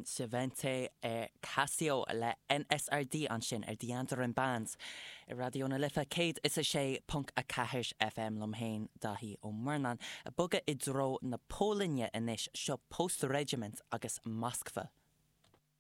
Sin Sevente Casio le NSRD ansin ar The Andaran Band ar Raidió na Life 106.4 FM liom féin, Daithí Ó Murnáin. Ag bogadh i dtreo na Polainne anois, seo Post Regiment agus Moskva.